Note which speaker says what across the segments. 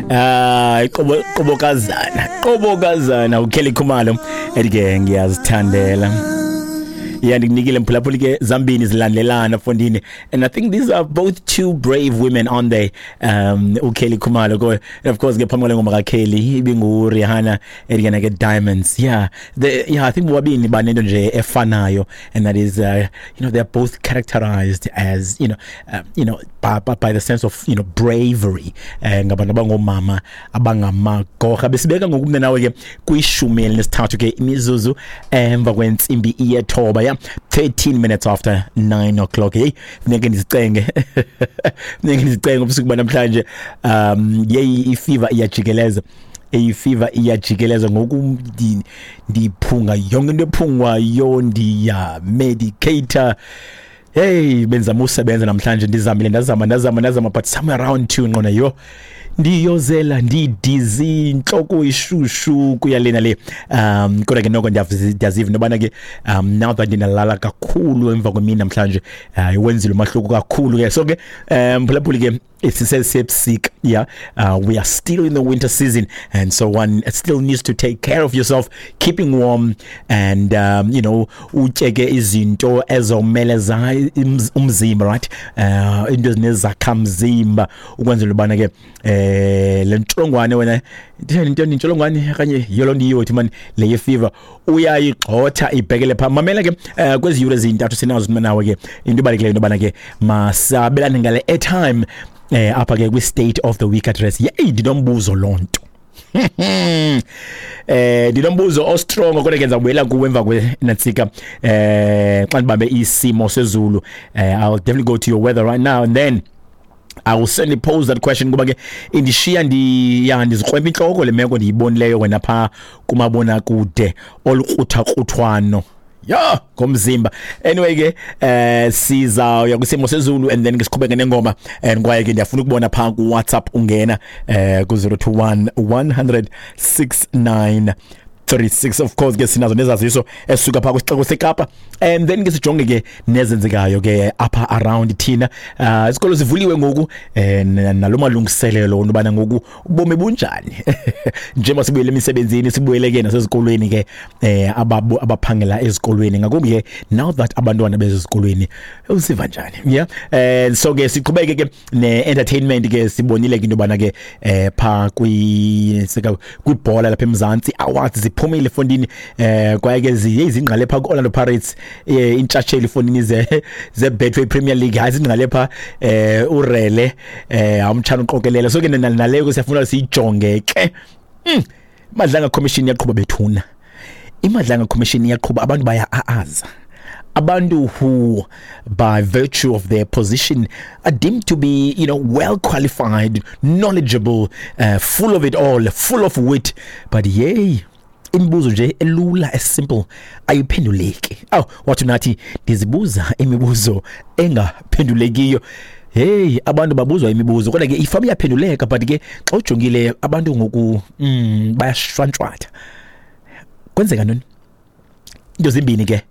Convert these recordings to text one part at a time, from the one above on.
Speaker 1: Ah, iqobo qobokazana. Qobokazana uKelly Khumalo ethi ke ngiyazithandela. Yeah, ndikunikile mphulaphuli ke zambini zilandelana fondini. And I think these are both two brave women on there. uKelly Khumalo ko, and of course ke phambi kwale ngoma kaKelly ibingu Rihanna ethi ke Diamonds. Yeah, yeah, I think bobabini banento nje efanayo, and that is they're both characterized as by the sense of bravery. Ngabantu abangomama abangamagorha. Besibeka ngokumne nawe ke kwi-13 ke imizuzu emva kwentsimbi yethoba, yeah, 13 minutes after 9 o'clock. Hey, funeke ndizicenge, funeke ndizicenge ubusuku banamhlanje. Yeyi, ifever iyajikeleza, ifever iyajikeleza ngoku. Ndiphunga yonke into ephungwayo, ndiya medicate. Hey, benzama usebenza namhlanje, ndizamile, ndazama, ndazama, ndazama, but somewhere around 2 nqona yo ndiyozela, ndidizzy, intloko ishushu, kuya lena le. Kodwa ke noko ndiyaziva into ke now that ndinalala kakhulu emva kwemini namhlanje, iwenzile umahluko kakhulu ke. So ke mphulaphuli ke, sisesebusika, yeah, we are still in the winter season, and so one still needs to take care of yourself, keeping warm and utyeke izinto ezomeleza umzimba, right, into ezinezakhamzimba ukwenzela ubana ke le ntsholongwane, wena itheni into, intsholongwane okanye yiyo loo nto iyothi man le ye-fever uyayigxotha ibhekele phaa. Mamela ke, kwezi yure zintathu sinazo nawe ke, into ibalulekileyo into yobana ke masabelane ngale airtime apha ke kwi-State of the Week Address. Yeyi, ndinombuzo loo nto, ndinombuzo ostrong, kodwa ke ndizawubuyela kuwe emva kwenantsika xa ndibambe isimo sezulu. I'll definitely go to your weather right now and then I will certainly pose that question, kuba ke indishiya ndi ya ndizikrwempa intloko le meko ndiyibonileyo wena phaa kumabonakude, olukrutha-kruthwano ya ngomzimba. Anyway ke, sizawuya kwisimo sezulu and then ke siqhubeke nengoma, and kwaye ke ndiyafuna ukubona phaa ku WhatsApp ungena ku 021 100 69 36. Of course ke sinazo nezaziso esisuka phaa kwisixeko seKapa, and then ke sijonge ke nezenzekayo ke apha around thina. Isikolo sivuliwe ngoku, nalo malungiselelo intobana ngoku ubomi bunjani njengoba sibuyele emisebenzini, sibuyele ke nasezikolweni ke, abaphangela ezikolweni ngakumbi ke, now that abantwana bezikolweni, usiva njani? Yeah, so ke siqhubeke ke ne-entertainment ke. Sibonile ke into yobana ke phaa kwi sika kwibhola lapha eMzantsi, awards ziphumile fondini, kwaye ke ziye zingqale phaa ku-Orlando Pirates, intshatsheli fondini ze Betway Premier League. Hayi, zingqale phaa urele awumtshana uqokelela. So ke naleyo ke siyafuna siyijonge ke. Madlanga Commission iyaqhuba bethuna, iMadlanga Commission iyaqhuba, abantu baya-aaza, abantu who by virtue of their position are deemed to be well qualified, knowledgeable, full of it all, full of wit, but yay, imibuzo nje elula, esimple, ayiphenduleki. Aw, wathi nathi ndizibuza imibuzo engaphendulekiyo. Hey, abantu babuzwa imibuzo, kodwa ke ifama iyaphenduleka, but ke xa ujongile abantu ngoku bayashwantshwatha. Kwenzeka ntoni? Into zimbini ke: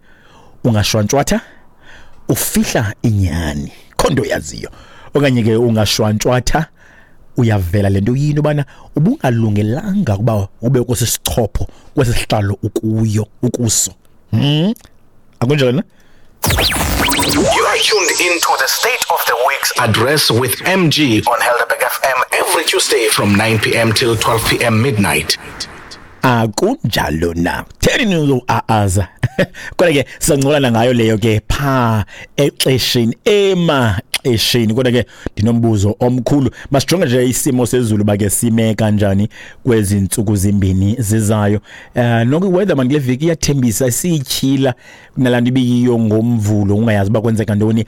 Speaker 1: ungashwantshwatha ufihla inyani, khonto yaziyo, okanye ke ungashwantshwatha uyavela lento yini ubana ubungalungelanga ukuba ube kwesi sichopho, kwesi sihlalo ukuyo ukuso. Akunjalo na?
Speaker 2: You are tuned into the State of the Week's Address with MG on Helderberg FM every Tuesday from 9 p.m. till 12 p.m. midnight.
Speaker 1: Akunjalo na? Theni nizo-aaza? Kodwa ke sizancokola ngayo leyo ke phaa exesheni, emaxesheni. Kodwa ke ndinombuzo omkhulu. Masijonge nje isimo sezulu ba ke sime kanjani kwezi ntsuku zimbini zizayo. Noko iweather man kule veki iyathembisa, siyityhila kunalaa nto ibiyiyo ngoMvulo, ungayazi uba kwenzeka ntoni.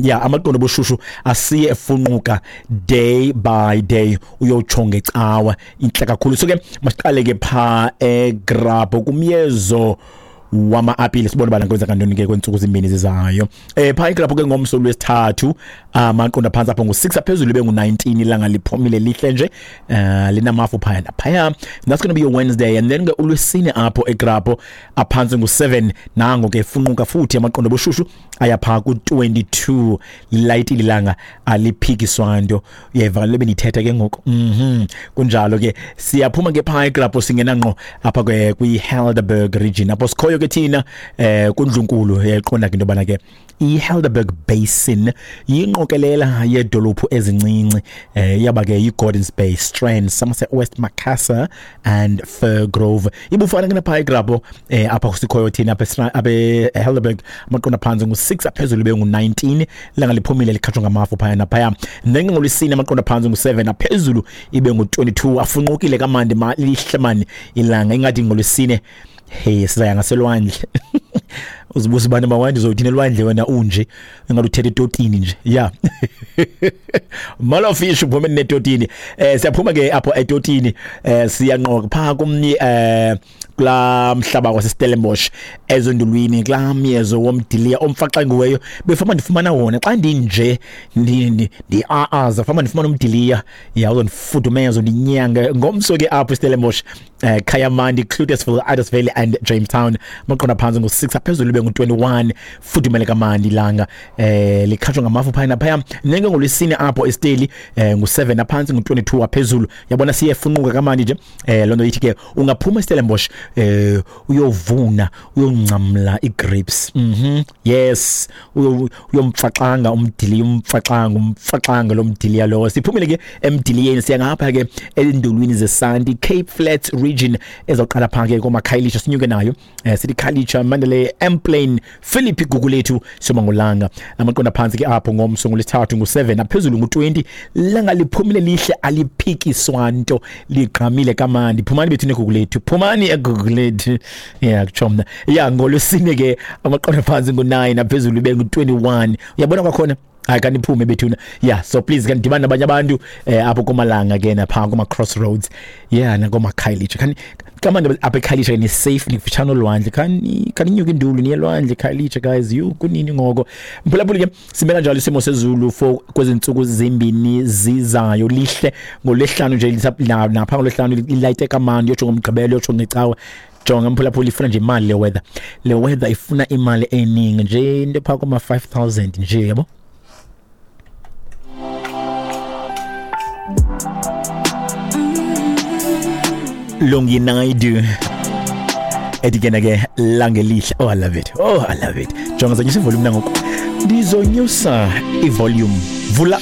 Speaker 1: Yeah, amaqondo obushushu asiye efunquka day by day, uyotsho ngeCawa intle kakhulu. So ke masiqale ke phaa eGrabho kumyezo. wama-apile, sibone ubana kwenzeka ntoni ke kweentsuku zimbini zizayo. Phaa iklapho ke ngomso lwesithathu, amaqondo aphantsi apho ngu-6, aphezulu ibe ngu-19. Ilanga liphumile, lihle nje, linamafu phaya naphaya. That's gonna be your Wednesday. And then ke ulwesine apho ekrapo, aphantsi ngu-7, nango ke funquka futhi amaqondo obushushu aya phaa ku-22. Lilayitile ilanga, aliphikiswa nto. Uyeva le bendiyithetha ke ngoku. Kunjalo ke, siyaphuma ke phaa ekrapo, singena ngqo apha ke kwi-Helderberg region apho sikhoyo ke thina kundlunkulu. Uyayiqonda ke into yobana ke i-Helderberg Basin yingqokelela yeedolophu ezincinci, yaba ke yi-Gordons Bay, Strand, Somerset West, Macassar and Firgrove. Ibufana ke naphaa egrapo, apha sikhoyo thina apha eHelderberg, amaqondo aphantsi ngu-6, aphezulu ibe ngu-19. Ilanga liphumile, likhatshwa ngamafu phaya naphaya. Then ke ngolwesine amaqondo aphantsi ngu-7, aphezulu ibe ngu-22. Afunqukile kamandi, lihle mani ilanga, ingathi ngolwesine hey sizaya ngaselwandle. Uzibuza ubani mawandi uzothini elwandle wena unje engathi uthethe etotini nje ya. Malo fish uphume netotini. Siyaphuma ke apho etotini, siyanqoka phaa kumnye kulaa mhlaba waseStellenbosch ezondulwini, kulaa myezo womdiliya omfaxangiweyo. Befama ndifumana wona xa ndinje ndi-aaza, fama ndifumana umdiliya ya uzondifudumeza, undinyanga. Ngomso ke apho eStellenbosch, Kayamandi, Cloetesville, Addersvale and Jamestown, amaqondo aphantsi ngu-6, aphezulu ibe ngu-21. Fudumele kamandi ilanga, likhatshwa ngamafu phaya naphaya. Nenge ngolwesine apho eSteli, ngu-7 aphantsi, ngu-22 aphezulu. Yabona siyefunquka kamandi nje. Loo nto ithi ke ungaphuma eStellenbosch uyovuna, uyongcamla ii-grapes. Yes, uyomfaxanga umdiliya, umfaxanga lo mdiliya lowo. Siphumile ke emdiliyeni, siya ngapha ke endulwini zesanti, Cape Flats region, ezawuqala phaa ke koomakhayelitsha, sinyuke nayo, sithi Khayelitsha, Mandalay, Emplane, Philippi, Gugulethu, Somangolanga. Amaqondo aphantsi ke apho ngomso ngolwesithathu ngu-7, aphezulu ngu-20. Langa liphumile, lihle, aliphikiswa nto, ligqamile kamandi. Phumani bethu neGugulethu, phumani eGugulethu, ya kutsho mna ya. Ngolwesine ke amaqondo aphantsi ngu-9, aphezulu ibe ngu-21. Uyabona kwakhona, hayi kaniphume bethuna ya. So please kanidibane nabanye abantu apho komalanga ke naphaa kuma-crossroads yeah nakomakhayelitsha. Khani kamandi apha ekhayelitsha, ni-safe, nikufutshane olwandle. Khaninyuke indulu niye elwandle Khayelitsha guys. You kunini ngoko mphulaphuli ke, simela njalo isimo sezulu for kwezi ntsuku zimbini zizayo. Lihle ngolwesihlanu nje, napha ngolwesihlanu lilayite kamandi, yotsho ngomgqibelo, yotsho ngecawa. Jonga mphulaphuli, ifuna nje imali le weather, le weather ifuna imali eningi nje, into phaa koma-5000 nje yabo. Lungi Naidu ethi ke ke langelihle. Oh, I love it, oh, I love it. Jonga, zonyusa ivolume nangoku, ndizonyusa ivolume, vula.